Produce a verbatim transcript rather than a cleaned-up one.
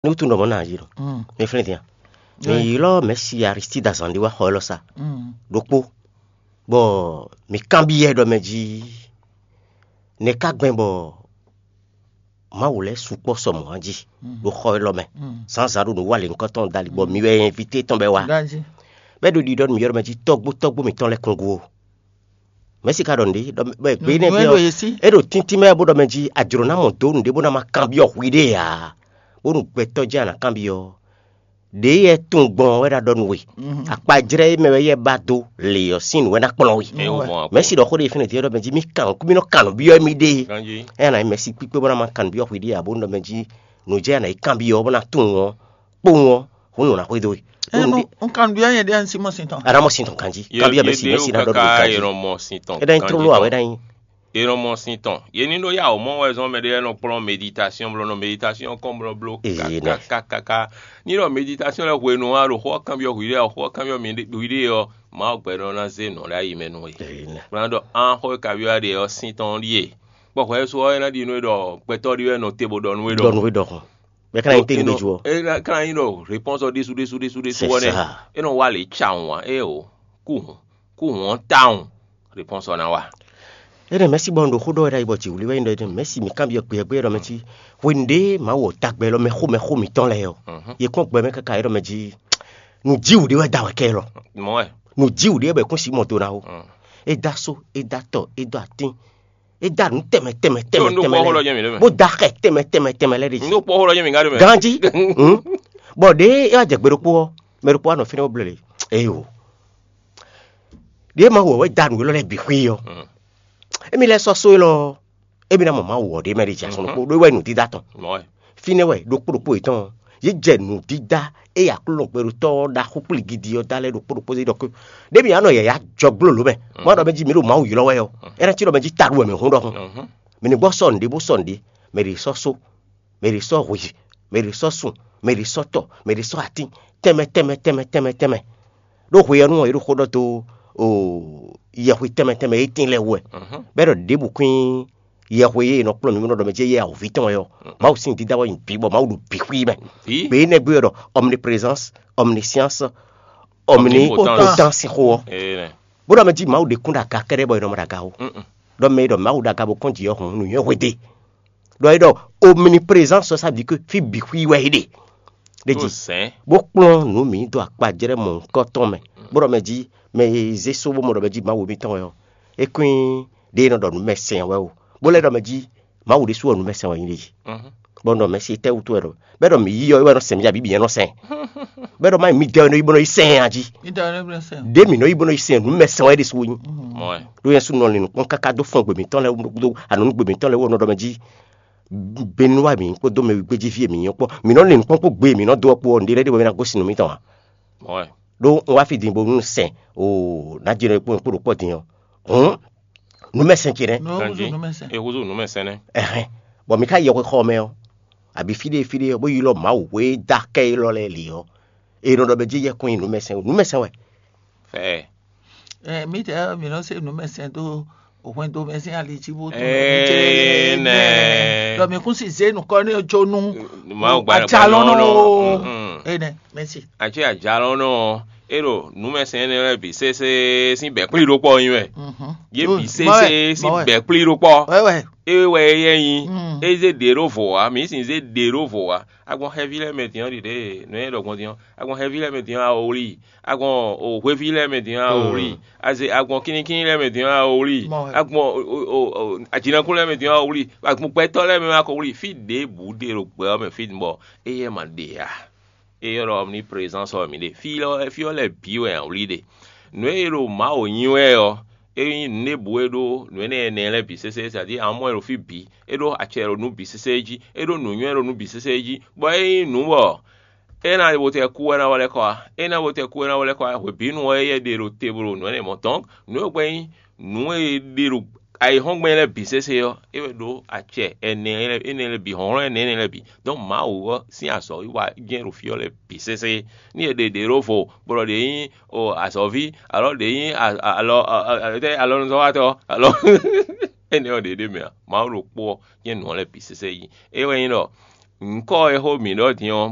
Wútu ɖɔ mɔ̌ ná yí ɖɔ mi flɛ́n din a? Mi ylɔ́ mɛ̌si Aristide azǎn ɖé wá xɔ élɔ́ sa ɖokpó, bɔ mi kanbyɔ́ ɛ ɖɔ mɛ jí nɛ̌ ka gbɛn bɔ Mawu lɛ́ɛ sukpɔ́ sɔ mɔ̌ jí ɖo xɔ élɔ́ mɛ. Zǎnzǎn ɖo nǔ wa lě nukɔn tɔn dali bɔ mi wɛ invité tɔn bɛ wá. Bɛ́ ɖo ɖiɖɔ nǔ ylɔ́ mɛ jí tɔ́gbó tɔ́gbó mǐtɔn lɛ́ɛ kún gú ó. Mɛ̌si ka ɖɔ nǔɖé ɖɔ bɔ gbě nɛ́ ɖé ɔ́, é ɖo tíntín mɛ bó ɖɔ mɛ jí a jlǒ ná mɔ dó nǔɖé bó ná ma kanbyɔ́ hwiɖée ǎ, bónú gbɛtɔ́ jɛ́n a nǎ kanbyɔ́. Ɖěe yɛ tunwun gbɔn ɔ́ wɛ ɖo ɖɔ nú we. Akpajlɛ́ e mɛ wɛ yɛ ba dó lě ɔ́ sín nǔ wɛ ná kplɔ́n we. Mɛ̌si ɖɔ xó ɖé fínɛ́ din ɔ́ ɖɔ mɛ jí mì kan kú mì nɔ kan nǔ byɔ́ émí ɖe. Ɛ ná nyí mɛ̌si kpíkpé bó ná ma kan nǔ byɔ́ hwiɖée ǎ bónú ɖɔ mɛ jí nǔ jɛ ná yi kanbyɔ́ ɔ́ bó ná tunwun ɔ́ kpowun ɔ́, hǔn nǔ ná xwedó we. Ɛ nu un kan nǔ byɔ́ nyɛ ɖe ɔ́, un sí mɔ sin tɔn. A ná mɔ sin tɔn ganjí. Kanbyɔ́ mɛ̌si mɛ̌si ná ɖɔ ɖo ganjí. É ná nyí tlóló ǎ wɛ ná nyí. È nɔ mɔ sin tɔn. Yě ní ɖó yá wǒ mɔ wɛ zɔn mɛ ɖé wɛ nɔ kplɔ́n meditasɔn bló nɔ meditasɔn kɔn bló bló kakakaka. Ní ɖɔ meditasɔn lɛ́ɛ hwenu a ɖo xó ɔ́ kanbyɔ́ hwiɖée ɔ́, xó ɔ́ kanbyɔ́ hwiɖée ɔ́, Mawu gbɛɖɔ ná zé nɔ ɖ'ayǐ mɛ nú we. Bó ná ɖɔ an xó e kabyɔ́ ɖe ɔ́ sín tɔn ɖíe. Bɔ hwɛ é su ɔ́, é ná ɖi nú we ɖɔ gbɛtɔ́ ɖé wɛ nɔ te bó ɖɔ nú we ɖɔ. Ɖɔ nú we ɖɔ hɔn. Bɛ́ ka ná nyí tɛ́ngbɛ́ jú ɔ́. É ná ka ná nyí ɖɔ réponse ɔ́ ɖésú ɖésú ɖésú ɖésú ɔ́ nɛ́. É nɔ wa lě cawun ǎ. Éeǒ. Kú hǔn. Kú hǔn ɔ́ tawun. Réponse ɔ́ ná wa. Énɛ́ mɛ̌si bɔ un ɖo xó ɖɔ wɛ ɖ'ayǐ bɔ jǐwlí wɛ nyí ɖɔ énɛ́ mɛ̌si mǐ kanbyɔ́ kpe ɔ́ gbé ɖɔ mɛ cí hwenu ɖé Mawu ɔ́ dó agba élɔ́ mɛ xó mɛ xó mǐtɔn lɛ́ɛ ɔ́, yě kɔn gbɛ mɛ káká é ɖɔ mɛ jí nǔjíwǔ ɖé wɛ da wɛ kɛ élɔ́. Mɔ̌ wɛ. Nǔjíwǔ ɖé wɛ bɔ è kún sixú mɔ do ná ó. É dó asó, é dó atɔ, é dó atín, é dó nǔ tɛnmɛ tɛnmɛ tɛnmɛ tɛnmɛ lɛ́ɛ ɖi. Bó dó axɛ tɛnmɛ tɛnmɛ tɛnmɛ lɛ́ɛ ɖi. Nú kpɔ́ xó lɔ nyɛ mǐ ká ɖe mɛ. Ganjí. Bɔ ɖěe é wá jɛ gbe ɖokpó ɔ́, mɛ ɖokpó wá nɔ fínɛ́ bó bló lě. Éyo. Ɖěe Mawu wɛ wɛ da nǔ élɔ́ lɛ́ɛ bǐ xwí ɔ́, émí lɛ́ɛ sɔ́ só élɔ́ ɔ́, émí ná mɔ Mawu ɔ́ ɖ'é mɛ ɖe jɛ asɔn ɖokpó ɖó é wɛ nǔdídá tɔn. Fínɛ́ wɛ ɖokpó ɖokpó yětɔn ɔ́, yě jɛ nǔdídá e Aklúnɔ gbɛɖotɔ́ ɔ́ ɖaxó kplí gidi ɔ́ da lɛ́ɛ ɖokpó ɖokpó zé ɖɔ kó ɖěbǔ ǎ nɔ yǎyá jɔ gblo lǒ mɛ, má ɖɔ mɛ jí mǐ ɖo Mawu ylɔ́ wɛ ɔ́, é ná cí ɖɔ mɛ jí taɖu wɛ mǐ hún ɖɔhun. Mǐ ní gbɔ sɔ́ nǔɖé bó sɔ́ nǔɖé, mɛ ɖě sɔ́ só, mɛ ɖě sɔ́ hwǐ, mɛ ɖě sɔ́ sun, mɛ ɖě sɔ́ tɔ, mɛ ɖě sɔ́ atín, tɛnmɛ tɛnmɛ tɛnmɛ tɛnmɛ tɛnmɛ. Ɖó hwe ɔ́ nú ɔ́, è ɖo xó ɖɔ dó yɛhwe tɛnmɛ tɛnmɛ e tín lɛ́ɛ wú wɛ, bɔ é ɖɔ ɖěbǔ kwín yɛhwe e è nɔ kplɔ́n mǐ bó nɔ ɖɔ mɛ jí yɛ awǒvi tɔn wɛ ɔ́, Mawu sín dídá wɛ nyi bǐ bɔ Mawu ɖo bǐ xwí mɛ. Gbě énɛ́ gbe wɛ ɖɔ omniprésence, omniscience, omnipotence xó ɔ́. Bó ɖɔ mɛ jí Mawu ɖe kún ɖo aga kɛ́ɖɛ́ bɔ è nɔ mɔ ɖo aga ó. Ɖɔ mɛ e ɖɔ Mawu ɖo aga bó kɔn jǐ ɔ́ hǔn nǔnywɛ́ hwedé. Ɖɔ é ɖɔ omniprésence ɔ́ sá bǐ ké fí bǐ xwí wɛ é ɖe. Ɖe jí bó kplɔ́n nǔ mǐ dó akpajlɛ́ mɔ̌hunkɔtɔn mɛ, bó ɖɔ mɛ jí mɛ e zé só bó mɔ ɖɔ mɛ jí Mawu mitɔn wɛ ɔ́, é kún nyí ɖě e nɔ ɖɔ nǔ mɛ sɛn wɛ o, bó lɛ́ ɖɔ mɛ jí Mawu ɖésú ɔ́ nǔ mɛ sɛn wɛ nyí ɖe jí. Bɔ un ɖɔ mɛ se tɛ́ wútu wɛ ɖɔ bɛ́ ɖɔ mǐ yí ɔ́ é wɛ nɔ sɛn mǐ abǐ bǐ nyɛ nɔ sɛn. Bɛ́ ɖɔ má nyí midɛɛ nɔ yí bó nɔ yí sɛn a jí. Ɖě mǐ nɔ yí bó nɔ yí sɛn nǔ mɛ sɛn wɛ ɖésú nyí. Ɖó nyɛ sú nɔ lin nǔkpɔ́n káká dó fɔ́n gbe mǐtɔn lɛ́ɛ wú, anǔ gbe mǐtɔn lɛ́ɛ wú ɔ́ nɔ ɖɔ mɛ jí Benúwa mǐ kpódó mɛ gbéjíví e mǐ nyɔ́ kpɔ́n, mǐ nɔ lin nǔkpɔ́n kpó gbe e mǐ nɔ dó ɔ́ kpó ɔ́, nǔɖé lɛ́ɛ ɖé bɔ é ná gosín nǔ mitɔn ǎ. Ɖó un wá fí din bónú sɛn o ná jɛ kpó kpó ɖo kpɔ́ din ɔ́, hǔn nǔmɛsɛn ce nɛ́. Nǔ húzú nǔmɛsɛn. É húzú nǔmɛsɛn nɛ́. Ɛhɛn, bɔ mǐ ká yɔ xɔ mɛ ɔ́, abǐ fí ɖé fí ɖé ɔ́, bó yi lɔ Mawu e dó akɛ élɔ́ lɛ́ɛ lě ɔ́, è nɔ ɖɔ bɛ jí yɛ kɔn nyi nǔmɛsɛn o, nǔmɛsɛn wɛ. Fɛɛ. Ɛ mǐtɛɛ mǐ nɔ se nǔmɛsɛn dó hwɛndo mɛ sín ali jí bó tɔn Énɛ́. Ɖɔ mǐ kún si zé nukɔ ní jó nú Mawu gba ajalɔnɔ o. Énɛ́, mɛsi. Atsɔ́ ajalɔnɔ ɔ́, é ɖo nǔmɛsɛn énɛ́ lɛ́ɛ bǐ sésé sín bɛ̌ kplí ɖó kpɔ́ nyí wɛ. Yě bǐ sésé sín bɛ̌ kplí ɖó kpɔ́. Wɛ wɛ. É wɛ é yɛ nyi. É zé ɖě ɖó vǒ wá, mǐ sin zé ɖě ɖó vǒ wá. Agbɔn xɛví lɛ́ɛ mɛ din ɔ́ ɖiɖe nǔ e ɖɔ gbɔn din ɔ́, agbɔn xɛví lɛ́ɛ mɛ din ɔ́, a wlí. Agbɔn o hweví lɛ́ɛ mɛ din ɔ́, a wlí. Aze agbɔn kínníkínní lɛ́ɛ mɛ din ɔ́, a wlí. Agbɔn ajinakún lɛ́ɛ mɛ din ɔ́, a wlí. Agbɔn gbɛtɔ́ lɛ́ɛ mɛ ma ko wlí. Fí ɖěbǔ ɖe ɖo gbɛ ɔ́ mɛ fí bɔ éyɛ́ ma ɖe ǎ. É ylɔ́ ɖɔ omniprésence ɔ́ mǐ ɖe. Fí ɔ́, fí ɔ́ lɛ́ɛ bǐ wɛ a wlí ɖe. Nǔ e ɖo Mawu nyi wɛ ɔ́, é nyí nǔ ɖěbǔ e ɖó nǔ énɛ́ ɛnɛ lɛ́ɛ bǐ sésé, c'est-à-dire amɔ e ɖo fí bǐ, é ɖó acɛ ɖo nǔ bǐ sésé jí, é ɖó nǔnywɛ́ ɖo nǔ bǐ sésé jí, bɔ é nyí nǔ bɔ é ná bo tɛ kú wɛ ná wá lɛ́ kɔ wá. É ná bo tɛ kú wɛ ná wá lɛ́ kɔ wá. Hwebǐnu ɔ́, éyɛ́ ɖe ɖo te bo ɖo nǔ énɛ́ mɔ tɔn. Nǔ e gbɛ́ nyí nǔ e ɖe ɖo ayǐhɔ́ngbe lɛ́ɛ bǐ sésé ɔ́, é wɛ ɖó acɛ ɛnɛ lɛ́ɛ énɛ́ lɛ́ɛ bǐ, hlɔ̌nhlɔ́n ɛnɛ énɛ́ lɛ́ɛ bǐ. Donc Mawu ɔ́ sín azɔ̌ wa jɛ́n ɖo fí ɔ́ lɛ́ɛ bǐ sésé. Ní è ɖe ɖě ɖó vo, bɔ ɖě nyí o azɔ̌ví, alɔ ɖě nyí alɔ alɔnuzɔ́watɔ́, alɔ énɛ́ ɔ́ ɖě ɖ'é mɛ ǎ. Mawu ɖokpó ɔ́ jɛ́n nǔ ɔ́ lɛ́ɛ bǐ sésé yí. É wɛ nyí ɖɔ nyǐkɔ e xó mǐ ɖɔ din ɔ́,